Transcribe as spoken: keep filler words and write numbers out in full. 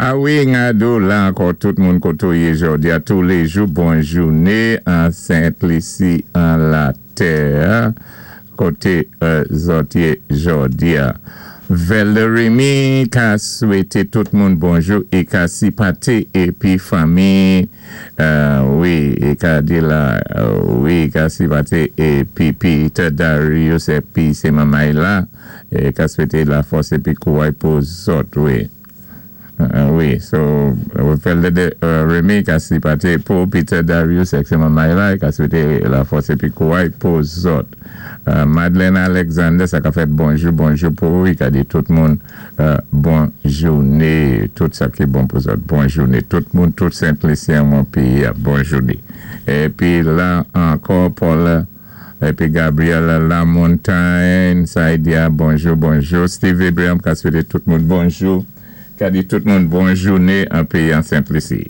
A wi, ngado la ankò tout moun koto yé jòdi a tou lé jou, bon jouné an Sent Lisi an latè, koté zòt yé jòdi a. Valerie ka swété tout moun bonjou é ka sipatè épi fanmi, wi, é ka di la, wi, ka sipatè épi Peter Darius épi sé manmay la, é ka swété la fòs épi kouway pou zòt, wi. Wi, so, Remy ka sipatè pou Peter Darius ek sé manmay la, ka swété la fòs épi kouway pou zòt. Madeleine Alexander, sa ka fèt bonjou, bonjou pou ou, ka di tout moun bon jouné, tout sa ki bon pou zòt, bon jouné, tout moun, tout Sent-Lisyen moun péyi, bon jouné. Épi la, ankò, Paul, épi Gabriel Lamontagne, sa y di a, bonjou, bonjou. Steve Abraham ka swété tout moun bonjou, ka di tout moun bon jouné an péyi an Sent Lisi.